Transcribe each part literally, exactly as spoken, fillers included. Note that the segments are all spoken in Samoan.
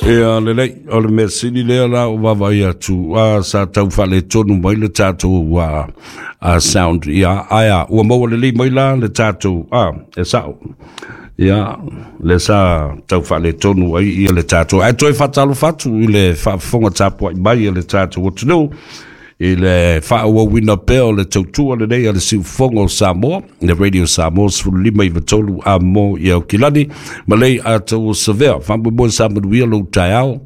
Ia lelei, o le mea sili lea la o vaavaai atu, a sa tau faaletonu mai le tatou a, a sound. Ia, ae a, ua maua lelei mai la le tatou, a, e sa'o. Ia, le sa tau faaletonu ai ia le tatou. Ae toe faatalofa atu i le faafofoga tapuai mai a le tatou atunuu i le faaauauina pea o le tautua lenei a le Siufofoga o Samoa, le Radio Samoa sefulu lima iva tolu amo i Aukilani, ma lei atau o Savea. Faamoemoe sa manuia lou taeao,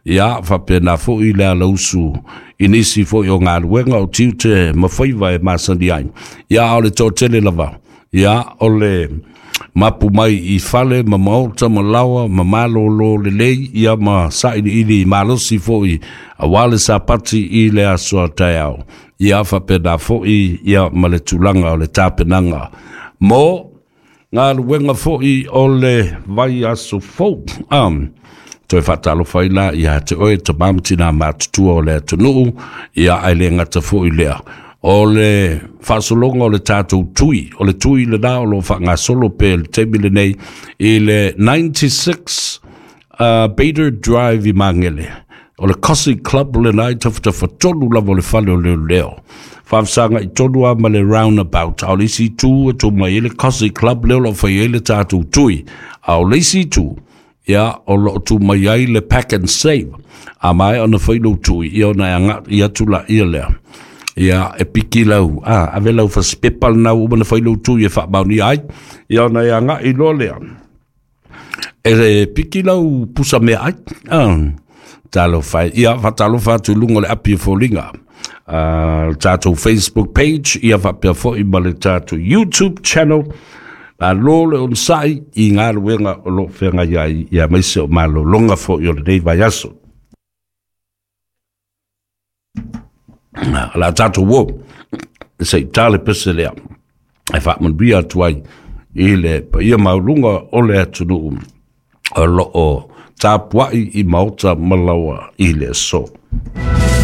ia faapena foi le alausu i nisi foi o galuega o tiute ma faiva e masani ai. Ia, o le toatele lava, ia o le mapu mai i fale ma maota ma laoa ma malōlō lelei, ia ma saʻiliʻili malosi foi auā le Sapati i le aso a taeao. Ia faapena foi ia ma le tulaga o le tapenaga mo galuega foi o le vaiaso fou. um, toe faatalofa ai la ia te oe tamā ma tinā matutua o le atunuu. Ia, ae le gata foi lea, o le faasologa o le tatou tui, o le tui lenā o loo faagasolo pe le taimi lenei i le tesomano uh, Bader Drive i Magele. O le Cosy Club lenā i tafatafatolu lava o le fale o leoleo, faafesaga i tonu a ma le roundabout. A o le isi itu e tu mai ai le Cosy Club lea o loo fai ai le tatou tui, a o le isi itu, ia, o loo tu mai ai le Pack and Save. A mae ona fai lou tui, ia, ona e agaʻi atu laia lea, ia e piki lau a ave lau fasipepa lena ua uma na fai lou tui e faamaonia ai. Ia, ona e agaʻi loa lea e piki lau pusa mea ai a talofa. Ia, faatalofa atu i luga o le api o foliga, uh, tatou Facebook page, ia faapea foi ma le tatou YouTube channel. Malo le onosaʻi i galuega o loo feagai ai, ia maise o malologa foi o lenei vaiaso. O la tatou uo se i tale pese lea e faamanuia atu ai i le paia maualuga o le atunuu o loo tapuaʻi i maota ma laoa i le aso.